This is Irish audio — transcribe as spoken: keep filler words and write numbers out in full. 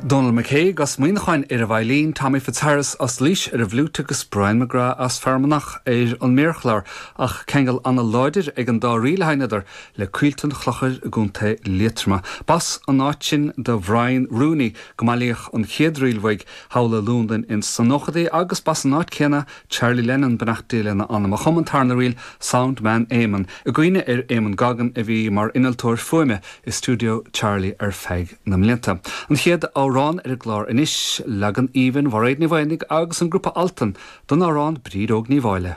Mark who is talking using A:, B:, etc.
A: Donal McCague as Muineachán ar an veidhlín, Tommy Fitzharris as Laois ar an bhfliúit agus Brian McGrath as Fear Manach ar an méarchlár ach ceangal an-láidir ag an dá ríl a sheinneadar le Coillte an Chlochair i gContae Liatroma. B'as an áit sin do Bhrian Rooney go mbailíodh an chéad ríl uaidh thall i Londain ins na nóchaidí agus b'as an áit céanna Charlie Lennon beannacht Dé lena anam a chum an tarna ríl Soundman Eamon. I gcuimhne ar Eamon Goggin a bhí mar innealtóir fuaime i stiúideo Charlie ar feadh na mblianta. An chéad amhrán ar an gclár anois leagan aoibhinn Mhairéad Ní Mhaonaigh agus an grúpa Altan don amhrán Bríd Óg Ní Mháille.